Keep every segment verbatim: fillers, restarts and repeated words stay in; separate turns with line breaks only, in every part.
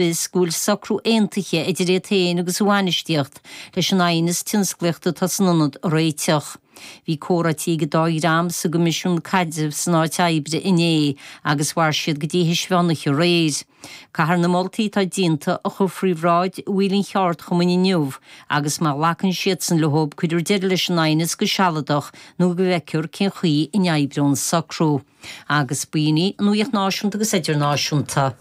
fios go bhfuil socrú aontaithe idir iad féin agus a bhainistíocht leis an aighneas tionsclaíochta atá san ionad a réiteach. Bhí comhráití ag an dá dhream sa gCoimisiún Caidrimh san áit oibre inné agus mhair siad go dtí théis mheán oíche aréir. Caithfear na moltaí atá déanta a chur faoi bhráid bhaill an cheardchumainn inniu agus má ghlacann siadsan leo cuirfear deireadh leis an aighneas go sealadach nó go bhfeicfear cén chaoi a n-oibreoidh an socrú. Agus b'in í an nuacht náisiúnta agus idirnáisiúnta.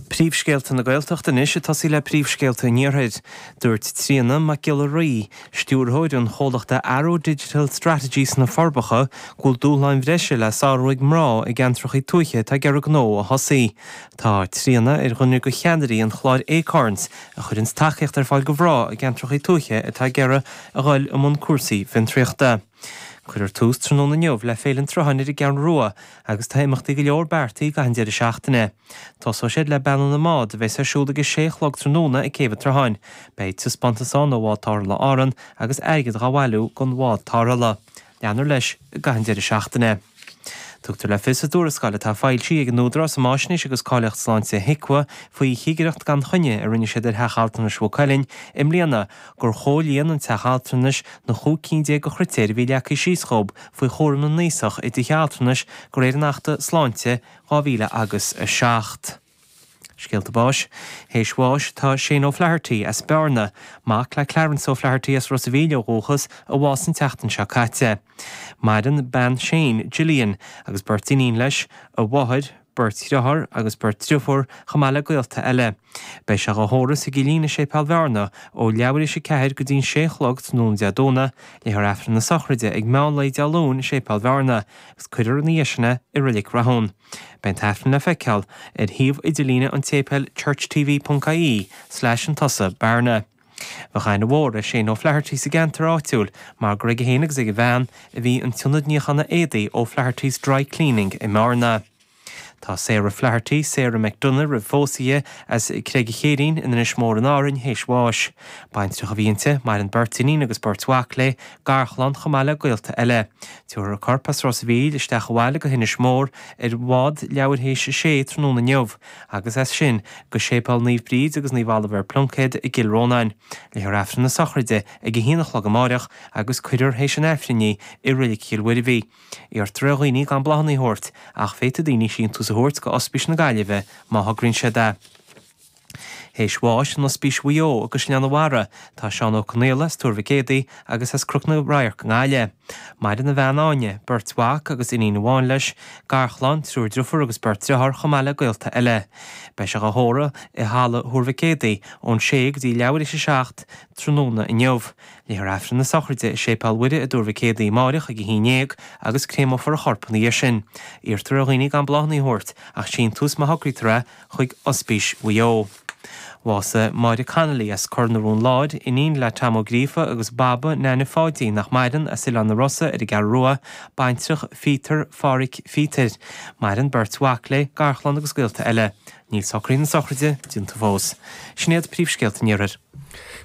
Príomhscéalta na Gaeltachta anois ag tosaí le príomhscéalta an Iarthair. Dúirt Tríona Mac Giolla Rí, stiúrthóir an chomhlachta Arrow Digital Strategies sna Forbacha, go bhfuil dúshláin bhreise le sárú ag mná i gceantracha tuaithe atá ag iarraidh gnó a thosaí. Tá Tríona ar dhuine de cheannairí an chláir Acorns, a chuireann tacaíocht ar fáil do mhná i gceantracha tuaithe atá ag iarraidh a dhul i mbun cúrsaí fiontraíochta. Cuirfear tús tráthnóna inniu le Féile an tSrutháin ar an gCeathrú Rua agus tá imeachtaí go leor beartaithe i gcaitheamh an deireadh seachtaine. Tosóidh siad le Beannú na mBád a bheas ar siúl ag a sé a chlog tráthnóna ag Céibh an tSrutháin. Beidh taispeántas ann ó Bhád Tarrthála Árann agus airgead á bhailiú don bhád tarrthála. Leanfar leis i gcaitheamh an deireadh seachtaine. Tugtar le fios i dtuarascáil atá foilsithe ag an Údarás um Fháisnéis agus Cáilíocht Sláinte HIQA faoi chigireacht gan choinne a rinne siad ar Theach Altranais Mhaigh Cuilinn i mbliana gur chomhlíon an teach altranais na chúig cinn déag de chritéir a bhí leagtha síos dhób faoi chúram na n-aosach i dtithe altranais de réir an Achta Sláinte dhá mhíle agus a seacht. Scéalta báis. Théis bháis tá Shane O'Flaherty as Bearna, mac le Clarence O'Flaherty as Ros a' Mhíl ó dhúchas, a bhásaigh an tseachtain seo caite. Maireann bean Shane, Gillian, agus beirt iníon leis, a mháthair, beirt dhearthár agus beirt driofúr, chomh maith le gaolta eile. Beidh sé á thórramh sa gCillín i Séipéal Bhearna ó leathuair théis a ceathair go dtí an sé a chlog tráthnóna Dé Domhnaigh, léifear Aifreann na sochraide ag meán lae Dé Luain i Séipéal Bhearna, agus cuirfear ina dhiaidh sin é i Reilig Rathún. Beidh an t-aifreann le feiceáil ar shuíomh idirlíne an tséipéil churchtv ponc ie slash an tusa Bearna. Bheadh aithne mhór ar Shane O'Flaherty sa gceantar áitiúil mar gur aige féin agus ag a bhean a bhí an t-ionad níochána éadaí O'Flaherty's Dry Cleaning i mBearna. Tá Sarah Flaherty, Sarah McDonagh roimh phósadh di, as Creag an Chéirín in Inis Mór in Árainn théis bháis. Baintreach a bhí inti, maireann beirt iníon agus beirt mhac léi, garchlann chomh maith le gaolta eile. Tabharfar a corp as Ros a' Mhíl isteach abhaile go hInis Mór ar bhád leathuair théis a sé tráthnóna inniu agus as sin go Séipéal Naomh Bríd agus Naomh Ollamh ar Pluincéad i gCill Rónáin. Léifear Aifreann na sochraide ag a haon a chlog amáireach agus cuirfear théis an Aifrinn í i Reilig Chill Mhuirbhigh. Iarrtar ar dhaoine gan bláthanna a thabhairt, ach féadfaidh daoine síntiús a thabhairt go Ospís na Gaillimhe má thograíonn siad é. Théis bháis in Ospís Mhaigh Eo i gCaisleán an Bharraigh, tá Seán Ó Conaola as Tuar Mhic Éadaigh agus as Cnoc na Radharc i nGaillimh. Maireann a bhean Áine, beirt mhac agus iníon amháin leis, garchlann, triúr driofúr agus beirt driotháir chomh maith le gaolta eile. Beidh sé á thórramh i Halla Thuar Mhic Éadaigh ón sé go dtí leathuair théis a seacht tráthnóna inniu. Léifear Aifreann na sochraide i Séipéal Mhuire i dTuar Mhic Éadaigh amáireach ag a haon déag agus créamófar a chorp ina dhiaidh sin. Iarrtar ar dhaoine gan bláthanna a thabhairt ach síntiús má thograítear é chuig Ospís Mhaigh Eo. Bhásaigh Máire Connolly as Cor na Rón Láir, iníon le Tom Ó Gríofa agus Baba Neaine Pháidí nach maireann as Oileán na Rosa ar an gCeathrú Rua, baintreach Phíotair Phádhraic Phíotair. Maireann beirt mhac léi, garchlann agus gaolta eile. Níl socruithe na sochraide déanta fós. Sin iad príomhscéalta an Iarthair.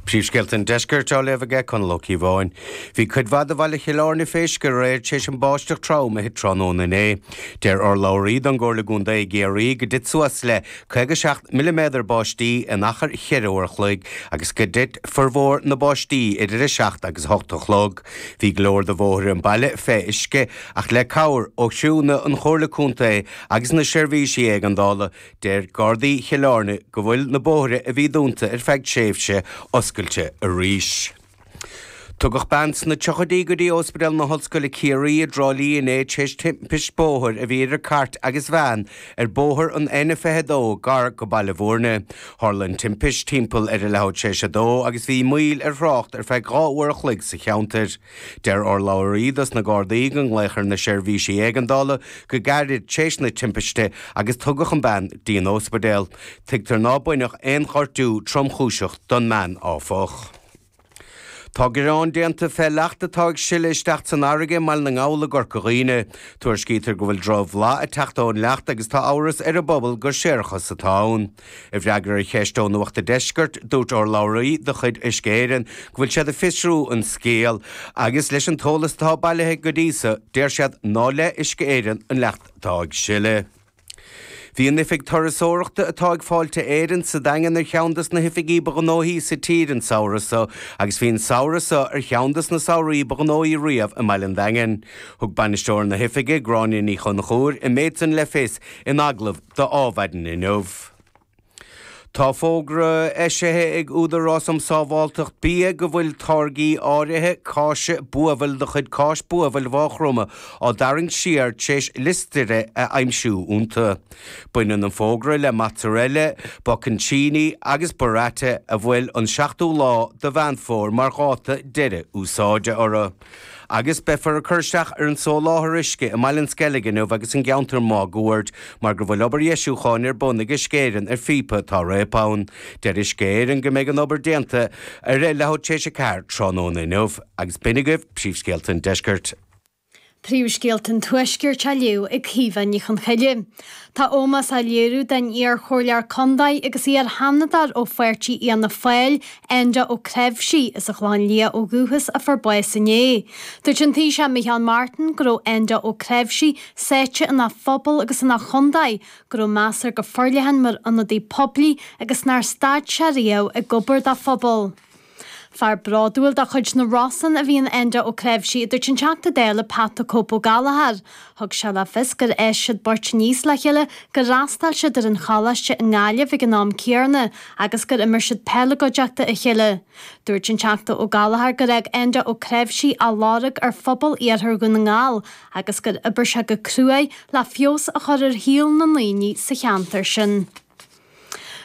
Príomhscéalta an Deiscirt á léamh aige Conall Ó Cíobháin. Bhí cuid mhaith de bhaile Chill Airne fé uisce aréir tar éis an báisteach trom a thit tráthnóna inné. Deir urlabhraí don gComhairle gContae i gCiarraí go dtit suas le caoga seacht milliméadar báistí in achar cheithre uair a chloig agus go dtit formhór na báistí idir a seacht agus a hocht a chlog. Bhí go leor de bhóithre an baile fé uisce ach le cabhair ó chriúnna an Chomhairle Contae agus na seirbhísí éigeandála, deir Gardaí Chill Airne go bhfuil na bóithre a bhí dúnta ar feadh tréimhse oscailte arís. Tugadh bean sna tríochaidí go dtí Ospidéal na hOllscoile Ciarraí i dTrá Lí inné tar éis timpist bóthair a bhí idir cairt agus veain ar bhóthar an N fiche a dó gar go Baile Bhúirne. Tharla an timpist timpeall ar a leathuair tar éis a dó agus bhí moill ar thrácht ar feadh dhá uair a chloig sa cheantar. Deir urlabhraí dos na Gardaí go nglaodh ar na seirbhísí éigeandála go gairid tar éis na timpiste agus tugadh an bean dtí an ospidéal. Tuigtear ná baineadh aon ghortú tromchúiseach don mbean áfach. Tá gearán déanta fé leacht atá ag sileadh isteach san fharraige i mBaile na nGall i gCorca Dhuibhne. Tuairiscítear go bhfuil drochbhlas ag teacht ón leacht agus tá amhras ar an bpobal gur séarachas atá ann. I bhfreagra ar cheist ó Nuacht an Deiscirt, dúirt urlabhraí de chuid Uisce Éireann go bhfuil siad ag fiosrú an scéal agus leis an t-eolas atá bailithe go dtí so, deir siad ná le Uisce Éireann an leacht atá ag sileadh. Bhí an oifig turasóireachta atá ag Fáilte Éireann sa Daingean ar cheann des na hoifigí ba ghnóthaí sa tír an samhradh seo agus bhí an samhradh seo ar cheann des na samhraí ba ghnóthaí riamh i mbaile an Daingin. Thug bainisteoir na hoifige Gráinne Ní Chonchúir an méid san le fios in agallamh do Adhmhaidin inniu. Tá fógra eisithe ag Údarás um Sábháilteacht Bia go bhfuil táirgí áirithe cáise buabhaill de chuid Cáis Buabhaill Mhaigh Chromtha á dtarraingt siar tar éis listéire a aimsiú iontu. Baineann an fógra le mozzarella, bocconcini agus burrata a bhfuil an seachtú lá de Mheán Fómhair mar dháta deireadh úsáide orthu. Agus beifear ag cur isteach ar an soláthar uisce i mBaile an Sceilg inniu agus an gceantar máguaird mar go bhfuil obair dheisiúcháin ar bun ag Uisce Éireann ar phíopa atá réabtha ann. Deir Uisce Éireann go mbeidh an obair déanta ar leathuair tar éis a ceathair tráthnóna inniu agus b'in agaibh príomhscéalta an deiscirt.
Príomhscéalta an Tuaiscirt á léamh ag Caoimhe Ní Chonchoille. Tá ómós á léiriú don iar-chomhairleoir contae agus iar-sheanadóir ó pháirtí Fhianna Fáil, Enda Ó Creabhsí as an Chlochán Liath ó dhúchas a fuair bás inné. Dúirt an Taoiseach Micheál Martin go raibh Enda Ó Creabhsí sáite ina phobal agus ina chontae, go raibh meas air go forleathan mar ionadaí poiblí agus nár stad sé riamh ag obair dá phobal. Fear bródúil de chuid na Rosann a bhí in Enda Ó Creabhsí a dúirt an Teachta Dála Pat the Cope Ó Gallchóir. Thug sé le fios gur fhás siad beirt aníos le chéile gur fhreastail siad ar an choláiste i nGaillimh ag an am céanna agus gur imir siad peil i gcuideachta a chéile. Dúirt an Teachta Ó Gallchóir gur fhág Enda Ó Creabhsí a lorg ar phobal iarthar Dhún na nGall agus gur oibir sé go cruaidh le feabhas a chur ar shaol na ndaoine sa cheantar sin.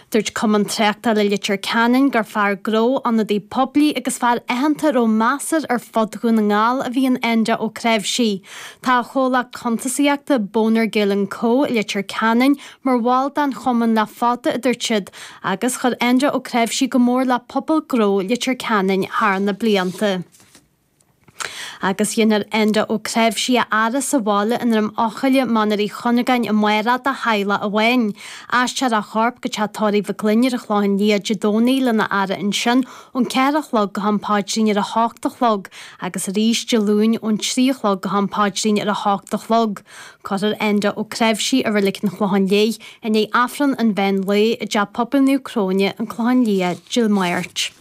Dúirt Cumann Tráchtála Leitir Ceanainn gur fear gnó ionadaí poiblí agus fear aitheanta a raibh meas air ar fud Dhún na nGall a bhí in Enda Ó Creabhsí. Tá a chomhlacht cuntasaíochta Boner Gill and Co Leitir Ceanainn mar bhall den chumann le fada a dúirt siad, agus chuir Enda Ó Creabhsí go mór le pobal gnó Leitir Ceanainn thar na blianta. Agus déanfar Enda Ó Creabhsí a fhaire sa bhaile i nDroim Eochaille Mainéar Uí Chuinneagáin amárach dá theaghlach amháin. Aistreofar a chorp go teach tórraimh Mhic Fhloinn ar an Chlochán Liath Dé Domhnaigh lena fhaire ansin ón ceathair a chlog go ham paidrín ar a hocht a chlog agus arís Dé Luain ón trí a chlog go ham paidrín ar a hocht a chlog. Cuirfear Enda Ó Creabhsí i Reilig an Chlocháin Léith i ndiaidh Aifreann an mheán lae i dTeach Pobail Naomh Cróine an Clochán Liath Dé Máirt.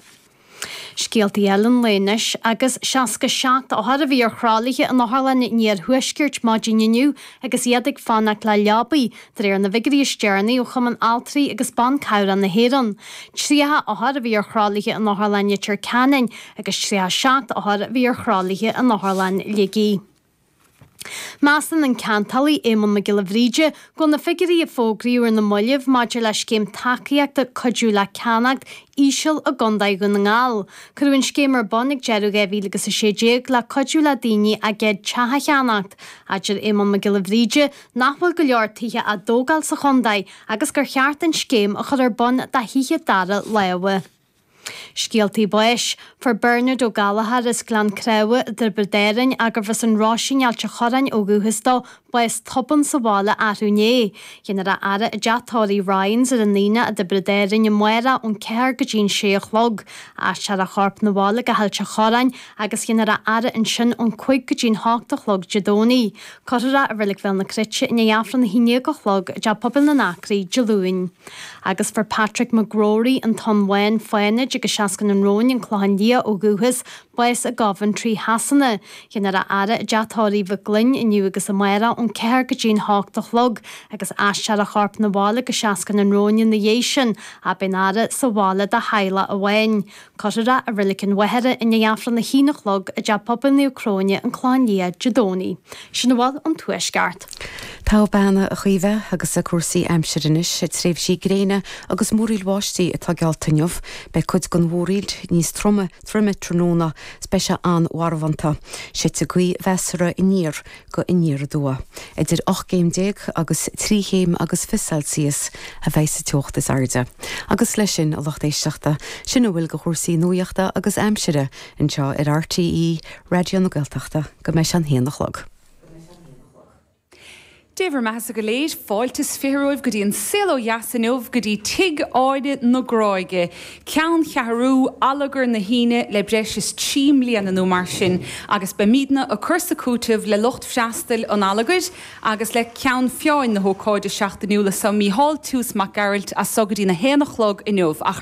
Scéaltaí eile an lae anois agus seasca seacht othar a bhí ar thralaithe in otharlann an iarthuaiscirt maidin inniu agus iad ag fanacht le leabaí, de réir na bhfigiúirí is deireanaí ó Chumann Altraí agus Ban Cabhrach na hÉireann. Tríocha othar a bhí ar thralaithe in otharlann Leitir Ceanainn agus tríocha seacht othar a bhí ar thralaithe in otharlann Shligigh. Measann an ceantálaí Éamonn Mac Giolla Bhríde go bhfuil na figiúirí a fógraíodh ar na mallaibh maidir le scéim tacaíochta cuidiú le ceannacht íseal i gContae Dhún na nGall. Cuireadh an scéim ar bun ag deireadh dhá mhíle agus a sé déag le cuidiú le daoine a gcéad teach a cheannacht. Deir Éamonn Mac Giolla Bhríde nach bhfuil go leor tithe á dtógáil sa chontae agus gur cheart an scéim a chur ar bun do thithe dara láimhe. Scéaltaí báis. Fuair Bernard Ó Gallchóir as Gleann Creamha i dTiobraid Árann gurbh as an Roisín Ailt an Chorráin ó dhúchas dó bás tobann sa bhaile arú inné. Déanfar a fhaire i dteach tórraimh Ryans ar an Aonach i dTiobraid Árann amárach ón ceathair go dtí an sé a chlog. Aistreofar a chorp 'na bhaile go hAilt an Chorráin agus déanfar a fhaire ansin ón cúig go dtí an hocht a chlog Dé Domhnaigh. Cuirfear é i Reilig Bhéal na Cruite i ndiaidh Aifreann a haon déag a chlog i dTeach Pobail na nAcraí Dé Luain. Agus fuair Patrick McGrory an Tonn Bhán Fánaid agus Seascann an Róin an Clochán Liath ó dhúchas, bás i gCoventry Shasana. Déanfar a fhaire i dteach tórraimh Mhic Fhloinn inniu agus amárach ón ceathair go dtí an hocht a chlog agus aistreofar a chorp 'na bhaile go Seascann an Róin ina dhiaidh sin, ach beidh an fhaire sa bhaile dá theaghlach amháin. Cuirfear é i Reilig an Mhachaire i ndiaidh Aifreann a haon a chlog i dTeach Pobail Naomh Cróine an Clochán Liath Dé Domhnaigh. Sin a bhfuil ón Tuaisceart.
Togha bean a Chaoimhe agus cúrsaí aimsire anois, tréimhsí gréine agus múraíl bháistí atá geallta inniu. Beidh cuid den mhúraíl níos troime troime tráthnóna is beidh sé an-mharbhánta. Séidfidh gaoth mheasartha aniar go aniar aduaidh. Idir ocht gcéim déag agus trí chéim agus fiche Celsius a bheidh sa teocht is airde. Agus leis sin a lucht éisteachta, sin a bhfuil de chúrsaí nuachta agus aimsire anseo ar RTÉ Raidió na Gaeltachta go mbeidh sé an haon a chlog.
Dé bhur mbeathasa go léir fáilte is fiche romhaibh go dtí an saol ó dheas inniu go dtí Tigh Áine na Gráige, ceanncheathrú Allagar na hAoine le breis is trí mbliana nó mar sin agus beimidne ag cur 's ag cúiteamh le lucht freastail an Allagair agus le ceann feadhain na hócáide seachtainiúla so Mícheál Toose Mac Gearailt as so go dtí na haon a chlog inniu ach ar